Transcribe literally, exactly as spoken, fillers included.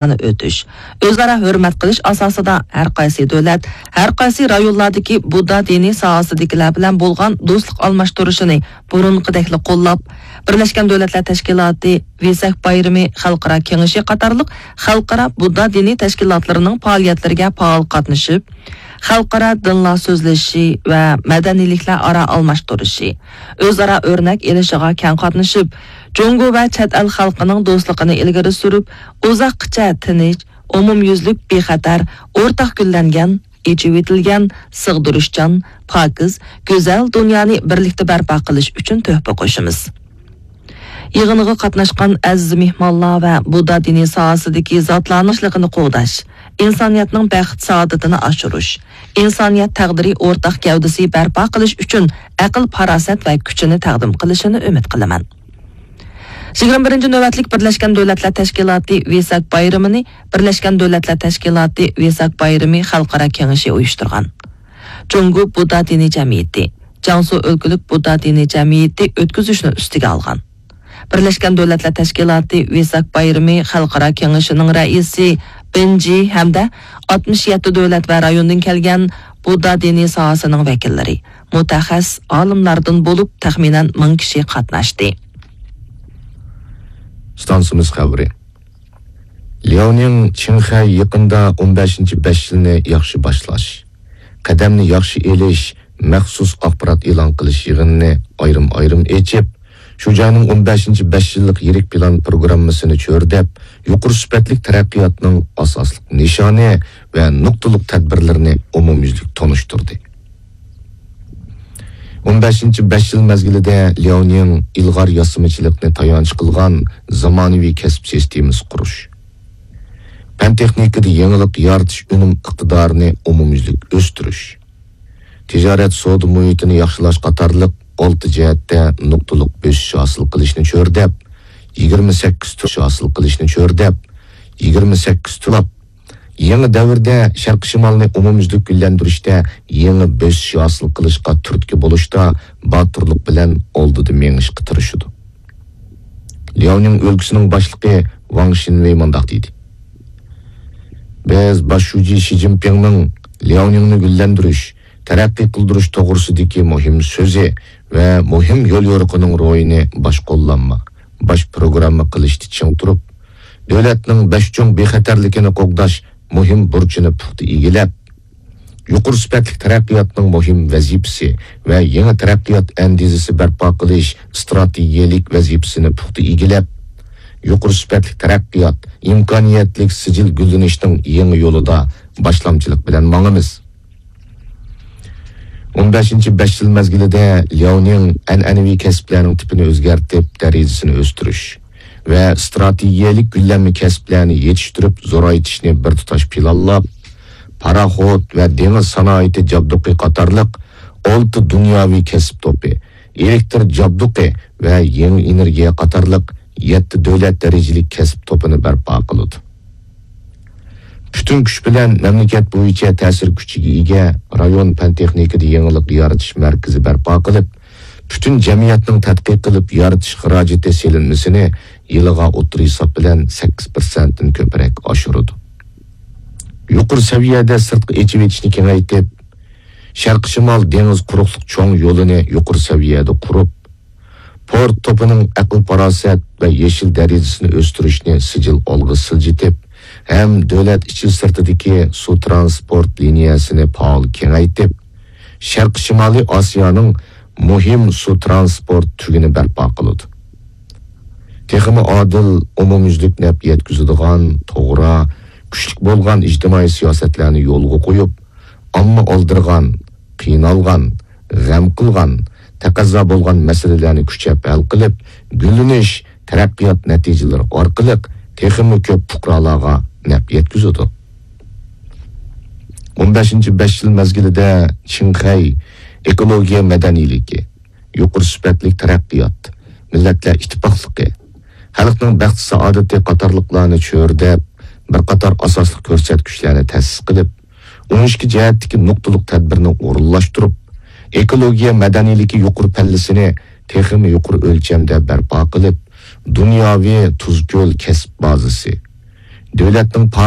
ئۆتۈش، ئۆزئارا ھۆرمەت قىلىش ئاساسىدا ھەر قايسى دۆلەت، ھەر قايسى رايونلاردىكى بۇددا دىنىي ساھەسىدىكىلەر بىلەن بولغان دوستلۇق ئالماشتۇرۇشىنى بۇرۇنقىدەكلا قوللاپ، بىرلەشكەن دۆلەتلەر تەشكىلاتى، ۋېساك بايرىمى خەلقئارا كېڭىشى قاتارلىق خەلقئارا بۇددا دىنىي تەشكىلاتلىرىنىڭ پائالىيەتلىرىگە پائال قاتنىشىپ، خەلقئارا دىنلار سۆزلىشىشى ۋە مەدەنىيلىكلەر ئارا ئالماشتۇرۇشى، ئۆزئارا ئۆرنەك ئېلىشىغا كەڭ قاتنىشىپ، جۇڭگو ۋە چەت ئەل خەلقىنىڭ دوستلۇقىنى ئىلگىرى سۈرۈپ، ئۇزاققىچە تىنچ، ئومۇميۈزلۈك، بىخەتەر، ئورتاق گۈللەنگەن، ئېچىۋېتىلگەن، سىغدۇرۇشچان، پاكىز، گۈزەل دۇنيانى بىرلىكتە بەرپا قىلىش ئۈچۈن تۆھپە قوشىمىز. يىغىنغا قاتناشقان ئەزىز مېھمانلار ۋە بۇددا دىنىي ساھەسىدىكى زاتلارنىڭ تىنچلىقىنى قوغداش، ئىنسانىيەتنىڭ بەخت-سائادىتىنى ئاشۇرۇش، ئىنسانىيەت تەقدىرى ئورتاق گەۋدىسى بەرپا قىلىش ئۈچۈن ئەقىل-پاراسەت ۋە كۈچىنى تەقدىم قىلىشىنى ئۈمىد قىلىمەن. يىگىرمە بىرىنچى نۆۋەتلىك بىرلەشكەن دۆلەتلەر تەشكىلاتى ۋېساك بايرىمىنى بىرلەشكەن دۆلەتلەر تەشكىلاتى ۋېساك بايرىمى خەلقئارا كېڭىشى ئۇيۇشتۇرغان. جۇڭگو بۇددا دىنىي جەمئىيىتى، جياڭسۇ ئۆلكىلىك بۇددا دىنىي جەمئىيىتى ئۆتكۈزۈشنى ئۈستىگە ئالغان. بىرلەشكەن دۆلەتلەر تەشكىلاتى ۋېساك بايرىمى خەلقئارا كېڭىشىنىڭ رەئىسى بېن جى ھەمدە ئاتمىش يەتتە دۆلەت ۋە رايوندىن كەلگەن بۇددا دىنىي ساھەسىنىڭ ۋەكىللىرى، مۇتەخەسسىس ئالىملاردىن بولۇپ تەخمىنەن مىڭ كىشى قاتناشتى. ئىستانسىمىز خەۋىرى. لياۋنىڭ چىڭخەي يېقىندا ئون بەشىنچى بەش يىلنى ياخشى باشلاش، قەدەمنى ياخشى ئېلىش مەخسۇس ئاخبارات ئېلان قىلىش يىغىنىنى ئايرىم-ئايرىم ئېچىپ، شۇ جاينىڭ ئون بەشىنچى بەش يىللىق يىرىك پىلان پروگراممىسىنى چۆرىدەپ، يۇقىرى سۈپەتلىك تەرەققىياتنىڭ ئاساسلىق نىشانى ۋە نۇقتىلىق تەدبىرلىرىنى ئومۇميۈزلۈك تونۇشتۇردى. ئون بەشىنچى بەش يىل مەزگىلىدە لياۋنىڭ ئىلغار ياسىمىچىلىقنى تايانچ قىلغان زامانىۋى كەسىپ سىستېمىسى قۇرۇش، پەن-تېخنىكىدا يېڭىلىق يارىتىش ئۈنۈم ئىقتىدارىنى ئومۇميۈزلۈك ئۆستۈرۈش، تىجارەت سودا مۇھىتىنى ياخشىلاش قاتارلىق ئالتە جەھەتتە نۇقتىلىق بۆسۈش ھاسىل قىلىشنى چۆرىدەپ، يىگىرمە سەككىز تۈر ھاسىل قىلىشنى چۆرىدەپ، يىگىرمە سەككىز تۇرلاپ، يېڭى دەۋردە شەرقىي شىمالنى ئومۇميۈزلۈك گۈللەندۈرۈشتە يېڭى بۆسۈش ھاسىل قىلىشقا تۈرتكە بولۇشتا باتۇرلۇق بىلەن ئالدىدا مېڭىشقا تىرىشىدۇ. لياۋنىڭ ئۆلكىسىنىڭ باشلىقى ۋاڭ شىنۋېي مۇنداق دېدى: بىز باش شۇجى شى جىنپىڭنىڭ لياۋنىڭنى گۈللەندۈرۈش، تەرەققىي قىلدۇرۇش توغرىسىدىكى مۇھىم سۆزى ۋە مۇھىم يوليورۇقىنىڭ روھىنى باش قوللانما، باش پروگرامما قىلىشتا چىڭ تۇرۇپ، دۆلەتنىڭ بەش چوڭ بىخەتەرلىكىنى قوغداش مۇھىم بۇرچىنى پۇختا ئىگىلەپ، يۇقىرى سۈپەتلىك تەرەققىياتنىڭ مۇھىم ۋەزىپىسى ۋە يېڭى تەرەققىيات ئەندىزىسى بەرپا قىلىش ئىستراتېگىيەلىك ۋەزىپىسىنى پۇختا ئىگىلەپ، يۇقىرى سۈپەتلىك تەرەققىيات، ئىمكانىيەتلىك سىجىل گۈللىنىشنىڭ يېڭى يولىدا باشلامچىلىق بىلەن ماڭىمىز. ئون بەشىنچى بەش يىل مەزگىلىدە لياۋنىڭ ئەنئەنىۋى كەسىپلەرنىڭ تىپىنى ئۆزگەرتىپ، دەرىجىسىنى ئۆستۈرۈش ۋە ئىستراتېگىيەلىك گۈللەنمە كەسىپلەرنى يېتىشتۈرۈپ زورايتىشنى بىر تۇتاش پىلانلاپ، پاراخوت ۋە دېڭىز سانائىتى جابدۇقى قاتارلىق ئالتە دۇنياۋى كەسىپ توپى، ئېلېكتر جابدۇقى ۋە يېڭى ئېنېرگىيە قاتارلىق يەتتە دۆلەت دەرىجىلىك كەسىپ توپىنى بەرپا قىلىدۇ. پۈتۈن كۈچ بىلەن مەملىكەت بويىچە تەسىر كۈچىگە ئىگە رايون پەن-تېخنىكىدا يېڭىلىق يارىتىش مەركىزى بەرپا قىلىپ، پۈتۈن جەمئىيەتنىڭ تەتقىق قىلىپ يارىتىش خىراجىتى سېلىنمىسىنى يىلىغا ئوتتۇرا ھېساب بىلەن سەككىز پىرسەنتتىن كۆپرەك ئاشۇرىدۇ. يۇقىرى سەۋىيەدە سىرتقا ئېچىۋېتىشنى كېڭەيتىپ، شەرقىي شىمال دېڭىز قۇرۇقلۇق چوڭ يولىنى يۇقىرى سەۋىيەدە قۇرۇپ، پورت توپىنىڭ ئەقىل-پاراسەت ۋە يېشىل دەرىجىسىنى ئۆستۈرۈشنى سىجىل ئالغا سىلجىتىپ، ھەم دۆلەت ئىچى سىرتىدىكى سۇ ترانسپورت لىنىيەسىنى پائال كېڭەيتىپ، شەرقىي شىمالىي ئاسىيانىڭ مۇھىم سۇ ترانسپورت تۈگۈنى بەرپا قىلىدۇ. تېخىمۇ ئادىل، ئومۇميۈزلۈك نەپ يەتكۈزىدىغان، توغرا، كۈچلۈك بولغان ئىجتىمائىي سىياسەتلەرنى يولغا قويۇپ، ئامما ئالدىرىغان، قىينالغان، غەم قىلغان، تەقەززا بولغان مەسىلىلەرنى كۈچەپ ھەل قىلىپ، گۈللىنىش، تەرەققىيات نەتىجىلىرى ئارقىلىق تېخىمۇ كۆپ پۇقرالارغا نەپ يەتكۈزىدۇ. ئون بەشىنچى بەش يىل مەزگىلىدە چىڭخەي ئېكولوگىيە مەدەنىيلىكى، يۇقىرى سۈپەتلىك تەرەققىيات، مىللەتلەر ئىتتىپاقلىقى، خەلقنىڭ بەخت-سائادىتى قاتارلىقلارنى چۆرىدەپ، بىر قاتار ئاساسلىق كۆرسەتكۈچلەرنى تەسىس قىلىپ، ئون ئىككى جەھەتتىكى نۇقتىلىق تەدبىرنى ئورۇنلاشتۇرۇپ، ئېكولوگىيە مەدەنىيلىكى يۇقىرى پەللىسىنى تېخىمۇ يۇقىرى ئۆلچەمدە بەرپا قىلىپ، دۇنياۋى تۇز كۆل كەسىپ بازىسى، دۆلەتنىڭ